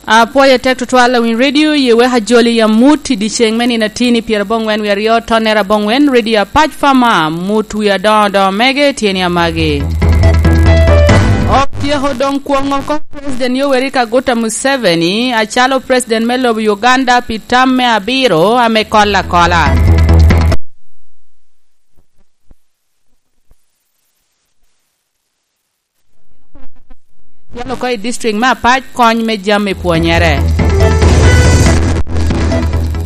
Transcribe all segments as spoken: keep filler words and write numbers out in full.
Apwoyo atek tutwal awiny redio, ye wek ajoli amut i dyeceŋ me nino atini pyerabongwen wie aryo, tonnere abongwen, redio apac pa ma, mut wie adoŋo adoŋo mege, tyeni amagi. Otyeko doŋ kwoŋo oko President Yoweri Kaguta Museveni acalo President me lobo Uganda pi tam me abiro ame kol akola. Yalo oko i district me Apac kony me jami pwonyere.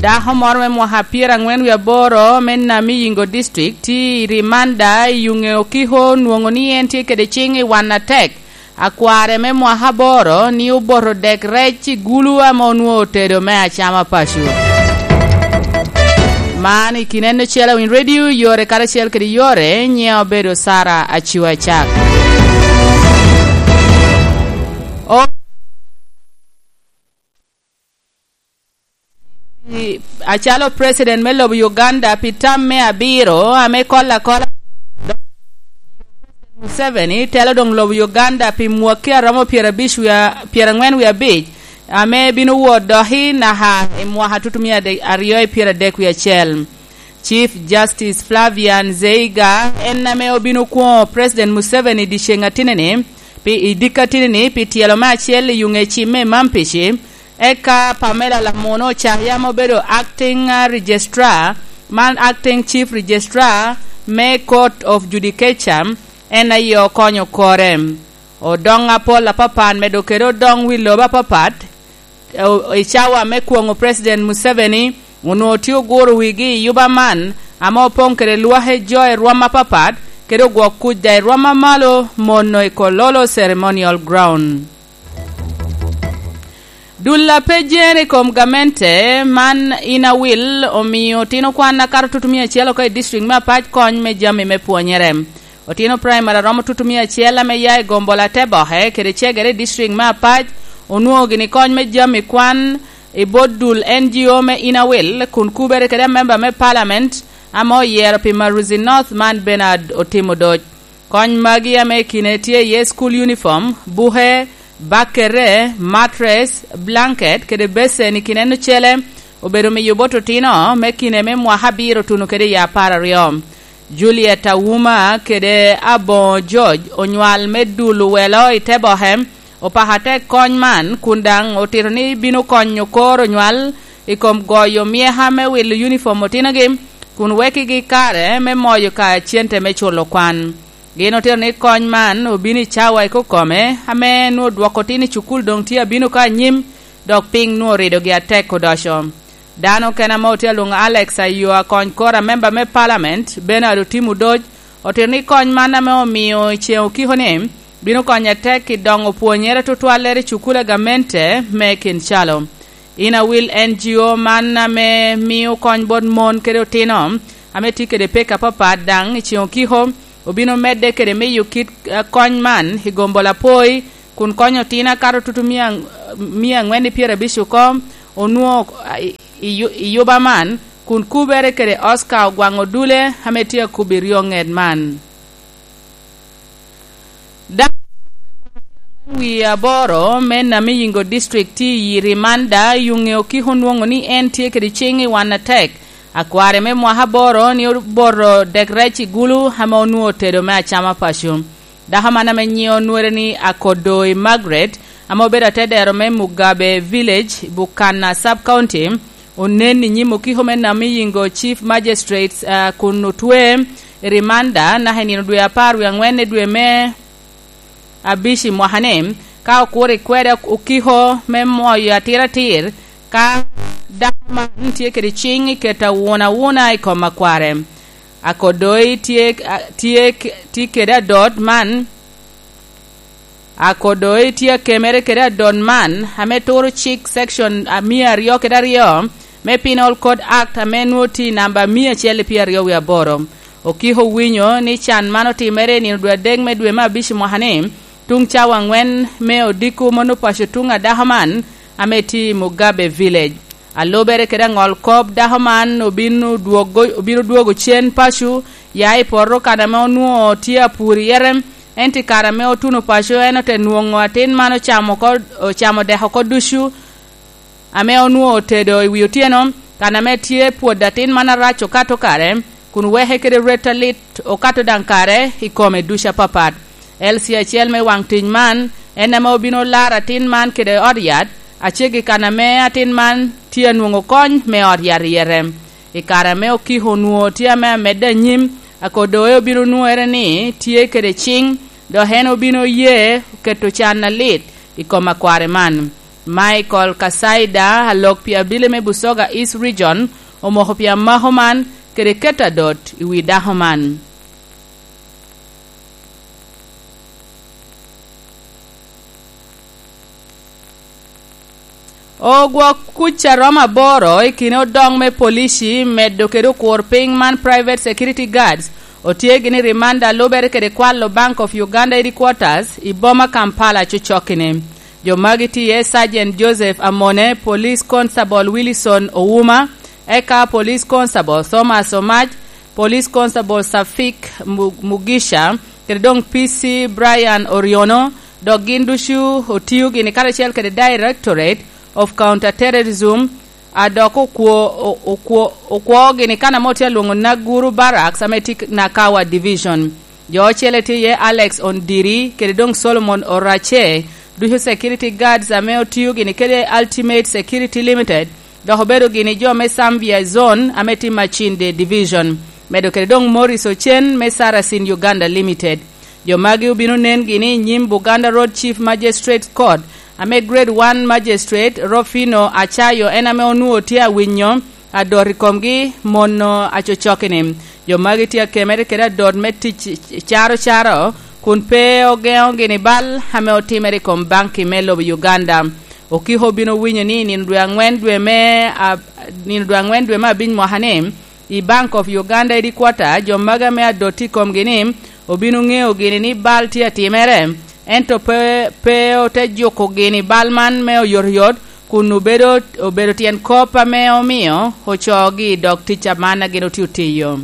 Dako moro me mwaka pyerangwen wie aboro me Namiyingo district tye i rimanda i Yunge Okiko, nwoŋo ni en tye kede ciŋ i wan atek. Akware me mwaka aboro ni oboto dek rec i gulu ame onwoŋo otedo me acama paco. Man i kin en ocel awiny redio, yore karacel kede yore, nyiŋe obedo Sara Aciwa Cak. O- Acalo President me lobo Uganda pi tam me abiro ame kol akola, Museveni telo doŋ lobo Uganda pi mwakki a romo pyerabic wie-, pyerangwen wie abic, ame bino wot doki naka i mwaka tutumia ade-, aryo i pyeradek wie acel. Chief Justice Flavian Zeiga en ame obino kwoŋo President Museveni i dyeceŋ atinini, pi, i dikka atinini pi tyelo me acel i Yunge Cim me Mampici, eka Pamela Lamuno Ocaya ame obedo acting, uh, registrar, man acting chief registrar me Court of Judicature, en aye okonyo kore. Odoŋ apol apapat medo kede odoŋ wi lobo apapat, o-, i cawa me kwoŋo President Museveni, onwoŋo tye oguro wigi i yuba man, ame opoŋ kede lwak i jo i rwom apapat, kede ogwok kuc daŋ i rwom amalo, mono i Kololo Ceremonial Ground. Dul a pe jere i kom gamente man in awil omio otino kwan akato tutumia acel oko i district me Apac kony me jami me pwonyere. Otino praimari a romo tutumia acel ame ya i gombola te boke kede cegere i district me Apac onwoŋo gini kony me jami kwan i bot dul N G O me in awil, kun kubere kede amemba me palament ame oyero pi Maruzi North man Bernard Otimo Doc. Kony magi ame i kine tye iye school uniform, buke, bakere, mattress, blanket, kede becen i kine en ocele, obedo miyo bot otino me kine me mwaka abiro tuno kede i apar aryo. Juliet Auma kede Aboŋo George onywal me dul owelo i te boke, opako atek kony man, kun daŋ otito ni bino konyo kor onywal i kom goyo myeka me wilo uniform otinogi, kun wekigi kare me moyo ka cente me culo kwan. Gin otito ni kony man obino i cawa i kokome, ame nwoŋo dwoko tin i cukul doŋ tye abino ka anyim, dok piny nwoŋo ridogi atek odoco. Dano okene ame otye alwoŋo Alex Ayo akony kor amemba me palament, Bernard Otim Odoc, otito ni kony man ame omio i ceŋ okiko ni, bino konyo atek i doŋo pwonyere tutwallere i cukul a gamente me Kinshalo. In awil N G O man ame mio kony bot mon kede otino ame tye kede pek apapat daŋ i ceŋ okiko, obino medde kede miyo kit, eh, kony man i gombo lapoi, kun konyo otino akato tutu mia, mia angwen i pyerabic oko, onwoŋo, ah, i, i yu-, i yuba man, kun kubere kede Oscar Ogwaŋ Odule ame tye akubo i ryo ŋet man. Dano wie aboro me Namiyingo District tye i rimanda, Yunge Okiko onwoŋo ni en tye kede ciŋ i wan atek. Akware me mwaka aboro ni oboto dek rec i gulu ame onwoŋo otedo me acama paco. Dako man ame nyiŋe onwere ni Akodoi Margaret, ame obedo atedero me Mugabe Village, Bukana Sub-County, onen i nyim okiko me Namiyingo Chief Magistrates, ah, kun otwe i rimanda naka i nino dwe apar wie angwen i dwe me abic i mwaka-ni, ka okuro i kwede okiko me moyo atiratir, ka dako man tye kede ciŋ i keto awuna awuna i kom akware. Akodoi tye, a, tye, tye kede adot man, Akodoi tye akemere kede adot man, ame turo cik section, a, mia aryo kede aryo me Penal Code Act, ame nwoŋo tye i namba mia acel i pyeraryo wie aboro. Okiko owinyo ni can man otimere i nino dwe adek me dwe me abic i mwaka-ni, tuŋ cawa angwen me odiko mano paco tuŋ a dako man, ame tye i Mugabe Village. Alubere kede aŋol kop, dako man obino dwogo, obino dwogo cen paco, ya i poto kan ame onwoŋo tye apur iye, ento i kare ame otuno paco, en ote nwoŋo atin man ocamo oko, ocamo dek oko ducu, ame onwoŋo otedo i wi otyeno, kan ame tye pwod atin man arac okato kare, kun weke kede rwet alit okato daŋ kare i kome ducu apapat. L C acel me waŋ tic man en ame obino laro atin man kede ot yat, aceggi kan ame atin man tye anwoŋo kony me ot yat ryete. I kare ame okiko onwoŋo tye ame amedde anyim, akodoe obino nwoŋere ni tye kede ciŋ, dok en obino ye keto can alit i kom akware man. Michael Kasaida, alok pi abili me Busoga East Region, omoko pi amako man kede keto adot i wi dako man. Ogwok kuc a romo aboro i kine odoŋ me polici medo kede okur piny man private security guards otye gini rimanda lubere kede kwalo Bank of Uganda headquarters i boma Kampala cocokki-ni. Jo magi tye iye Sergeant Joseph Amone, Police Constable Wilson Ouma, eka Police Constable Thomas Omac, Police Constable Safik Mu-, Mugisha, kede doŋ P C Brian Oriono, dok gin ducu otio gini karacel kede Directorate of Counterterrorism, a dok okwo-, o-, okwo-, okwo gini kan ame otye alwoŋo Naguru Barracks ame tye Nakawa Division. Jo ocele tye iye Alex Ondiri kede doŋ Solomon Orace, ducu security guards ame otio gini kede Ultimate Security Limited, dok obedo gini jo me Zambia Zone ame tye Machinde Division, medo kede doŋ Morris Ocen me Sarasin Uganda Limited. Jo magi obino nen gini i nyim Buganda Road Chief Magistrate Court, ame Grade one Magistrate Rofino Acayo en ame onwoŋo tye awinyo adot i komgi mono acocokki-ni. Jo magi tye akemere kede adot me tic caro caro, kun pe ogeŋo gini bal ame otimere i kom banki me lobo Uganda. Okiko obino winyo ni i nino dwe aŋwen dwe me ab-, nino dwe aŋwen dwe me abic mwaka-ni, i Bank of Uganda headquarter, jo magi ame adot tye i komgi-ni obino ŋeo gini ni bal tye atimere, ento pe, pe ote juko gini bal man me oyotoyot, kun obedo, obedo tyen kop ame omio ocoogi i dog tic a man a gin otye otiyo.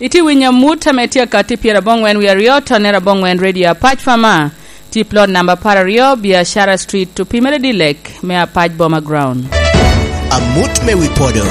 Itye winyo amut ame tye akatti pyeraboŋwen wie aryo, tonere aboŋwen Radio Apac Fama, tye plot namba apar aryo, Biashara Street, opimere Dilek, me Apac Boma Ground. Amut me wi podo.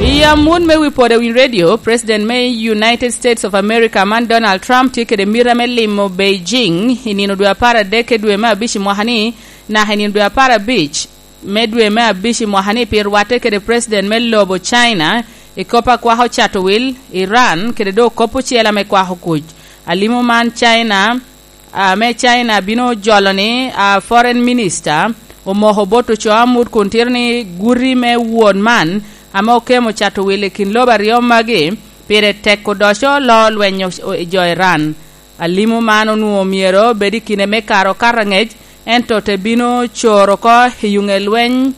I amut me wi podo i wi radio, President me United States of America man Donald Trump tye kede mita me limo Beijing i nino dwe apar adek i dwe me abic i mwaka-ni, naka i nino dwe apar abic me dwe me abic i mwaka-ni pi rwatte kede President me lobo China i kop a kwako cato wil, Iran, kede doŋ kop ocele ame kwako kuc. Alimo man China, ame China bino jolo ni, a, Foreign Minister omoko bot ocoo amut kun tito ni guti me won man ame okemo cato wil i kin lobo aryo magi pire tek odoco loo lweny o-, o-, i jo Iran. Alimo man onwoŋo myero obed i kine me kare okato angec, ento te bino coro oko i yuŋe lweny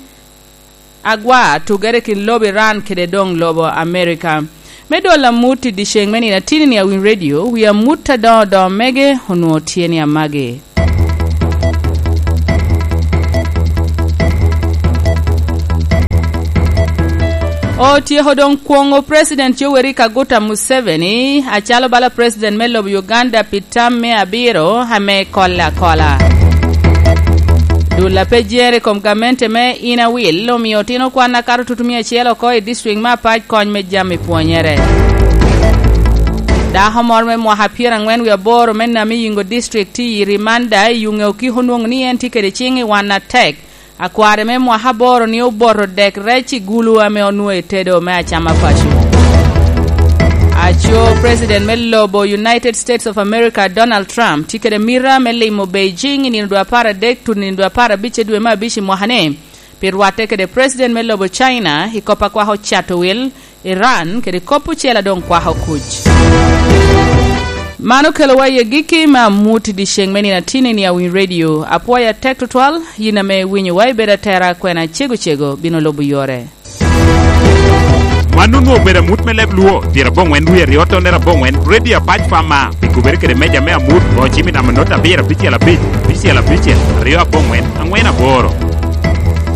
agwa tugere kin lobo Iran kede doŋ lobo Amerika. Me dwol amut i dyeceŋ me nino atini-ni a Winy Radio, wi amut adoŋo doŋo mege onwoŋo tye ni amagi. Otyeko doŋ kwoŋo President Yoweri Kaguta Museveni acalo bala President me lobo Uganda pi tam me abiro ame kolle akola. Dul a pe jere i kom gamente me Inner Wheel omio otino kwan akato tutumia acel oko i district me Apac kony me jami pwonyere. Dako moro me mwaka pyeraŋwen wie aboro me Namiyingo District tye i rimanda i yuŋe okiko onwoŋo ni en tye kede ciŋ i wan atek. Akware me mwaka aboro ni oboto dek rec i gulu ame onwoŋo etedo me acama paco. Aco President me lobo United States of America, Donald Trump, tye kede mita me limo Beijing i nino dwe apar adek tuno nino dwe apar abic i dwe me abic i mwaka-ni, pi rwatte kede President me lobo China i kop a kwako cato wil, Iran, kede kop ocel a doŋ kwako kuc. Man okelowa i agikki me amut i dyeceŋ me nino atini-ni a Winy Radio. Apwoyo atek tutwal, yin ame iwinyowa, ibedo atera, kwena cego cego bino lubo yore. Man onwoŋo obedo amut me leb Luo, pyeraboŋwen wie aryo tonere aboŋwen, Radio Apac Fama, pi kubere kede meja me amut, bocimi namba not abiro abicel abic, abicel abicel, aryo aboŋwen, aŋwen aboro.